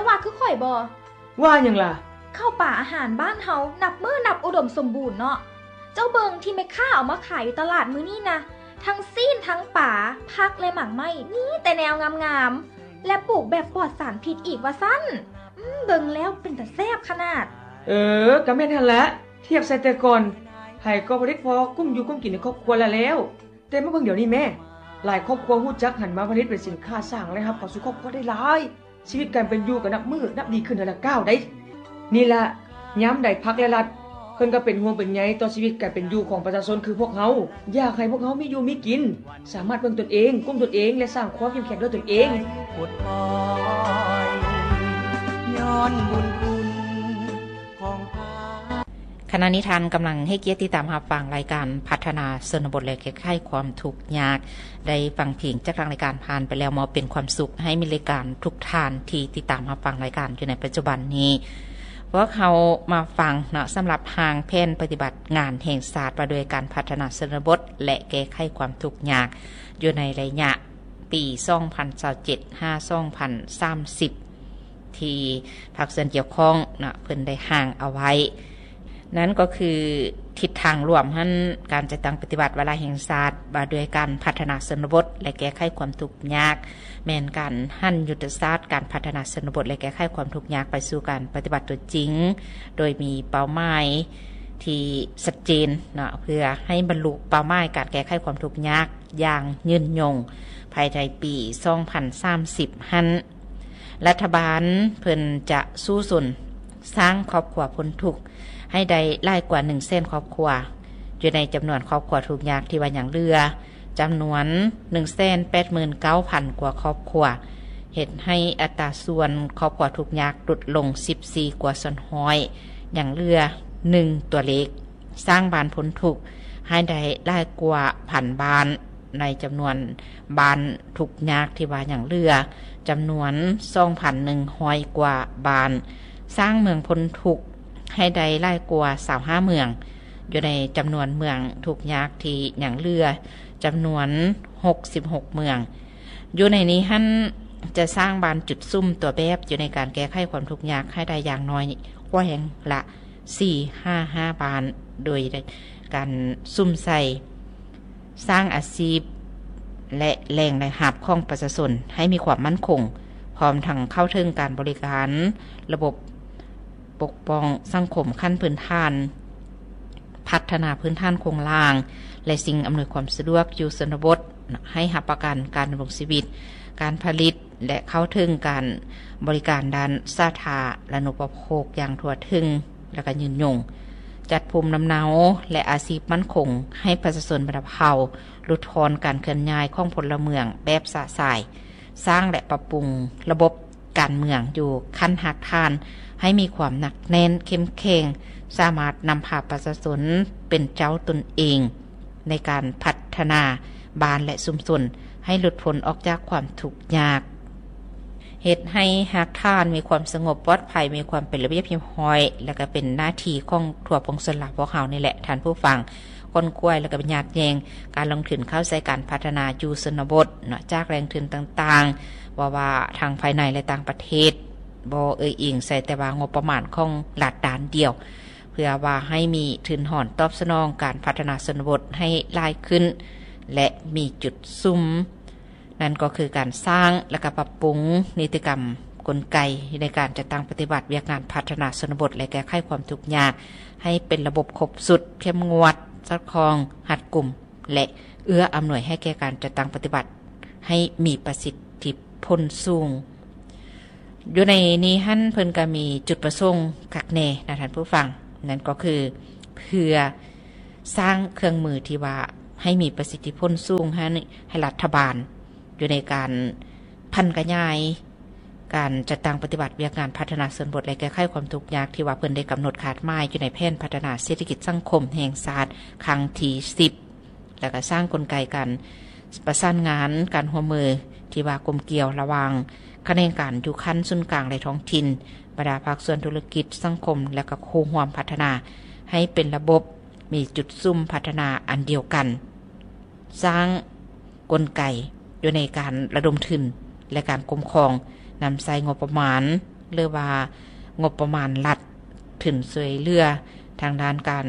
ວ່າຄືຂ້ອຍບໍ່? ວ່າຫຍັງລະ? ເຂົ້າປາອາຫານບ້ານເຮົານັບມື້ນັບອຸດົມສົມບູນເນາະ. ເຈົ້າເບິ່ງທີ່ແມ່ຄ້າເອົາມາຂາຍຢູ່ຕະຫຼາດມື້ນີ້ນະ, ທັງຊີ້ນ, ທັງປາ, ຜັກ ແລະ ໝາກໄມ້, ມີແຕ່ແນວງາມໆ ແລະ ປູກແບບປອດສານພິດອີກວ່າຊັ້ນ. ອືມ, ເບິ່ງແລ້ວເປັນຕາແຊບຂະໜາດ. ເອີ, ກໍແມ່ນຫັ້ນລະ. ທຽບໃສ່ແຕ່ກ່ອນ, ໃຜກໍຜະລິດພໍກຸ້ມຢູ່ກຸ້ມກິນໃນຄອບຄົວລະແລ້ວ. ແຕ່ມາເບິ່ງດຽວນີ້ແມ້, ຫຼາຍຄອບຄົວຮູ້ຈັກຫັນມາຜະລິດເປັນສິນຄ້າ, ສ້າງລາຍຮັບເຂົ້າສູ່ຄອບຄົວໄດ້ຫຼາຍ. ຊີວິດການເປັນຢູ່ກໍນັບມື້ນັບດີຂຶ້ນເທື່ອລະກ້າວໃດ໋. ນີ້ລະ, ຍາມໃດພັກ ແລະ ລັດ ເພິ່ນກໍເປັນຫ່ວງເປັນໃຍຕໍ່ຊີວິດການເປັນຢູ່ຂອງປະຊາຊົນຄືພວກເຮົາ, ຢາກໃຫ້ພວກເຮົາມີຢູ່ມີກິນ. ສາມາດເບິ່ງຕົນເອງ, ກຸ້ມຕົນເອງ ແລະ ສ້າງຄວາມເຂັ້ມແຂງດ້ວຍຕົນເອງ. ຂະນະນີ້ທ່ານກຳລັງໃຫ້ກຽດຕິດຕາມຮັບຟັງລາຍການພັດທະນາຊົນນະບົດ ແລະ ແກ້ໄຂຄວາມທຸກຍາກ. ໄດ້ຟັງເພງຈາກທາງລາຍການຜ່ານໄປແລ້ວ, ມອບເປັນຄວາມສຸກໃຫ້ມິດລາຍການທຸກທ່ານທີ່ຕິດຕາມຮັບຟັງລາຍການຢູ່ໃນປັດຈຸບັນນີ້. ພວກເຮົາມາຟັງເນາະ, ສຳລັບຮ່າງແຜນປະຕິບັດງານແຫ່ງຊາດວ່າດ້ວຍການພັດທະນາຊົນນະບົດ ແລະ ແກ້ໄຂຄວາມທຸກຍາກ ຢູ່ໃນໄລຍະປີສອງພັນຊາວເຈັດ ຫາ ສອງພັນສາມສິບ ທີ່ພາກສ່ວນກ່ຽວຂ້ອງເນາະ ເພິ່ນໄດ້ຮ່າງເອົາໄວ້. ນັ້ນກໍຄືທິດທາງລວມຫັ້ນ, ການຈັດຕັ້ງປະຕິບັດວາລະແຫ່ງຊາດວ່າດ້ວຍການພັດທະນາຊົນນະບົດ ແລະ ແກ້ໄຂຄວາມທຸກຍາກ ແມ່ນການຫັນຍຸດທະສາດການພັດທະນາຊົນນະບົດ ແລະ ແກ້ໄຂຄວາມທຸກຍາກໄປສູ່ການປະຕິບັດຕົວຈິງ, ໂດຍມີເປົ້າໝາຍທີ່ຊັດເຈນເນາະ, ເພື່ອໃຫ້ບັນລຸເປົ້າໝາຍການແກ້ໄຂຄວາມທຸກຍາກຢ່າງຍືນຍົງພາຍໃນປີສອງພັນສາມສິບຫັ້ນ. ລັດຖະບານເພິ່ນຈະສູ້ຊົນສ້າງຄອບຄົວພົ້ນທຸກໃຫ້ໄດ້ຫຼາຍກວ່າໜຶ່ງແສນຄອບຄົວ, ຢູ່ໃນຈຳນວນຄອບຄົວທຸກຍາກທີ່ວ່າຍັງເຫຼືອ ຈຳນວນໜຶ່ງແສນແປດໝື່ນເກົ້າພັນກວ່າຄອບຄົວ, ເຮັດໃຫ້ອັດຕາສ່ວນຄອບຄົວທຸກຍາກຫຼຸດລົງສິບສີ່ກວ່າສ່ວນຮ້ອຍ, ຍັງເຫຼືອໜຶ່ງຕົວເລກ. ສ້າງບ້ານພົ້ນທຸກໃຫ້ໄດ້ຫຼາຍກວ່າພັນບ້ານ, ໃນຈຳນວນບ້ານທຸກຍາກທີ່ວ່າຍັງເຫຼືອ ຈຳນວນສອງພັນໜຶ່ງຮ້ອຍກວ່າບ້ານ, ສ້າງເມືອງພົ້ນທຸກໃຫ້ໄດ້ຫຼາຍກວ່າຊາວຫ້າເມືອງ, ຢູ່ໃນຈຳນວນເມືອງທຸກຍາກທີ່ຍັງເຫຼືອ ຈຳນວນຫົກສິບຫົກເມືອງ. ຢູ່ໃນນີ້ຫັ້ນ ຈະສ້າງບ້ານຈຸດສຸມຕົວແບບຢູ່ໃນການແກ້ໄຂຄວາມທຸກຍາກໃຫ້ໄດ້ຢ່າງໜ້ອຍກວ່າແຫ່ງລະ ສີ່ຫາຫ້າບ້ານ, ໂດຍການສຸມໃສ່ສ້າງອາຊີບ ແລະ ແຫຼ່ງລາຍຮັບຂອງປະຊາຊົນໃຫ້ມີຄວາມໝັ້ນຄົງ, ພ້ອມທັງເຂົ້າເຖິງການບໍລິການລະບົບປົກປ້ອງສັງຄົມຂັ້ນພື້ນຖານ, ພັດທະນາພື້ນຖານໂຄງລ່າງ ແລະ ສິ່ງອຳນວຍຄວາມສະດວກຢູ່ຊົນນະບົດ, ໃຫ້ຮັບປະກັນການດຳລົງຊີວິດ, ການຜະລິດ ແລະ ເຂົ້າເຖິງການບໍລິການດ້ານສາທາລະນຸປະໂພກຢ່າງທົ່ວເຖິງ ແລະ ກະຍືນຍົງ, ຈັດພູມລຳເນົາ ແລະ ອາຊີບໝັ້ນຄົງໃຫ້ປະຊາຊົນບັນດາເຜົ່າ, ຫຼຸດຜ່ອນການເຄື່ອນຍ້າຍຂອງພົນລະເມືອງແບບຊະຊາຍ, ສ້າງ ແລະ ປັບປຸງລະບົບການເມືອງຢູ່ຂັ້ນຮາກຖານໃຫ້ມີຄວາມໜັກແໜ້ນເຂັ້ມແຂງ, ສາມາດນຳພາປະຊາຊົນເປັນເຈົ້າຕົນເອງ ໃນການພັດທະນາບ້ານ ແລະ ຊຸມຊົນໃຫ້ຫຼຸດພົ້ນອອກຈາກຄວາມທຸກຍາກ, ເຮັດໃຫ້ຮາກຖານມີຄວາມສະຫງົບປອດໄພ, ມີຄວາມເປັນລະບຽບຮຽບຮ້ອຍ ແລະ ກະເປັນໜ້າທີ່ຂອງທົ່ວປວງຊົນລາວພວກເຮົານີ້ແຫຼະ ທ່ານຜູ້ຟັງ. ຂົນຂວາຍ ແລະ ກະຍັດແຍ່ງການລົງທຶນເຂົ້າໃສ່ການພັດທະນາຢູ່ຊົນນະບົດເນາະ ຈາກແຫຼ່ງທຶນຕ່າງໆ, ບໍ່ວ່າທັງພາຍໃນ ແລະ ຕ່າງປະເທດ, ບໍ່ເອີ່ຍອີງໃສ່ແຕ່ວ່າງົບປະມານຂອງລັດດ້ານດຽວ. ເພື່ອວ່າໃຫ້ມີທຶນຮອນຕອບສະໜອງການພັດທະນາຊົນນະບົດໃຫ້ຫຼາຍຂຶ້ນ ແລະ ມີຈຸດສຸມ, ນັ້ນກໍຄືການສ້າງ ແລະ ກະປັບປຸງນິຕິກຳກົນໄກໃນການຈັດຕັ້ງປະຕິບັດວຽກງານພັດທະນາຊົນນະບົດ ແລະ ແກ້ໄຂຄວາມທຸກຍາກ ໃຫ້ເປັນລະບົບຄົບຊຸດ, ເຂັ້ມງວດ, ສອດຄ່ອງ, ຮັດກຸມ ແລະ ເອື້ອອຳນວຍໃຫ້ແກ່ການຈັດຕັ້ງປະຕິບັດໃຫ້ມີປະສິດທິຜົນສູງ. ຢູ່ໃນນີ້ຫັ້ນ ເພິ່ນກະມີຈຸດປະສົງຄັກແນ່ນະທ່ານຜູ້ຟັງ, ນັ້ນກໍຄືເພື່ອສ້າງເຄື່ອງມືທີ່ວ່າໃຫ້ມີປະສິດທິຜົນສູງ ໃຫ້ ໃຫ້ລັດຖະບານຢູ່ໃນການຜັນຂະຫຍາຍການຈັດຕັ້ງປະຕິບັດວຽກງານພັດທະນາຊົນນະບົດ ແລະ ແກ້ໄຂຄວາມທຸກຍາກ ທີ່ວ່າເພິ່ນໄດ້ກຳນົດຄາດໝາຍຢູ່ໃນແຜນພັດທະນາເສດຖະກິດສັງຄົມແຫ່ງຊາດຄັ້ງທີສິບ. ແລ້ວກໍສ້າງກົນໄກການປະສານງານ, ການຮ່ວມມືທີ່ວ່າກົມກ່ຽວລະຫວ່າງຂະແໜງການຢູ່ຂັ້ນສູນກາງ ແລະ ທ້ອງຖິ່ນ, ບັນດາພາກສ່ວນທຸລະກິດ, ສັງຄົມ ແລະ ກໍຄູ່ຮ່ວມພັດທະນາໃຫ້ເປັນລະບົບ, ມີຈຸດສຸມພັດທະນາອັນດຽວກັນ, ສ້າງກົນໄກຢູ່ໃນການລະດົມທຶນ ແລະ ການຄຸ້ມຄອງ, ນຳໃຊ້ງົບປະມານ ຫຼືວ່າງົບປະມານລັດ ທຶນຊ່ວຍເຫຼືອທາງດ້ານການ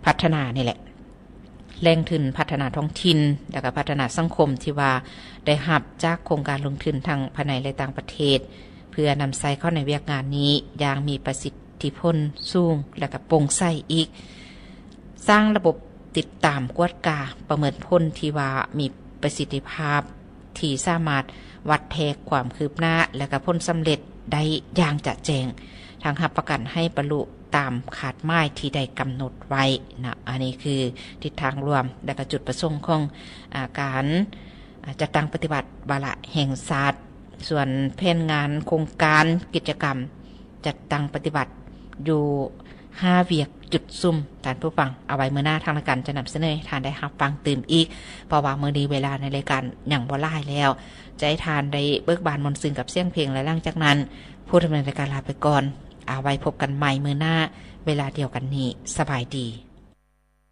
ພັດທະນານີ້ແຫຼະ ແຫຼ່ງທຶນພັດທະນາທ້ອງຖິ່ນ ແລະກະພັດທະນາສັງຄົມ ທີ່ວ່າໄດ້ຮັບຈາກໂຄງການລົງທຶນທັງພາຍໃນ ແລະຕ່າງປະເທດ ເພື່ອນຳໃຊ້ເຂົ້າໃນວຽກງານນີ້ຢ່າງມີປະສິດທິຜົນສູງ ແລະກະໂປ່ງໃສອີກ. ສ້າງລະບົບຕິດຕາມກວດກາປະເມີນຜົນທີ່ວ່າມີປະສິດທິພາບ ທີ່ສາມາດວັດແທກຄວາມຄືບໜ້າ ແລະກະຜົນສຳເລັດໄດ້ຢ່າງຈະແຈ້ງ ທັງຮັບປະກັນໃຫ້ບັນລຸຕາມຄາດໝາຍທີ່ໄດ້ກຳນົດໄວ້ນະ. ອັນນີ້ຄືທິດທາງລວມ ແລະກະຈຸດປະສົງຂອງ ອາ ການ ອາ ຈັດຕັ້ງປະຕິບັດວາລະແຫ່ງຊາດ. ສ່ວນແຜນງານໂຄງການກິດຈະກຳ ຈັດຕັ້ງປະຕິບັດຢູ່ຫ້າວຽກຈຸດສຸມ. ທ່ານຜູ້ຟັງ, ເອົາໄວ້ມື້ໜ້າທາງລາຍການຈະນຳສະເໜີໃຫ້ທ່ານໄດ້ຮັບຟັງຕື່ມອີກ, ເພາະວ່າມື້ນີ້ເວລາໃນລາຍການຍັງບໍ່ຫຼາຍແລ້ວ, ຈະໃຫ້ທ່ານໄດ້ເບີກບານມ່ວນຊື່ນກັບສຽງເພງ ແລະ ຫຼັງຈາກນັ້ນ ຜູ້ດຳເນີນລາຍການລາໄປກ່ອນ. ເອົາໄວ້ພົບກັນໃໝ່ມື້ໜ້າເວລາດຽວກັນນີ້. ສະບາຍດີ.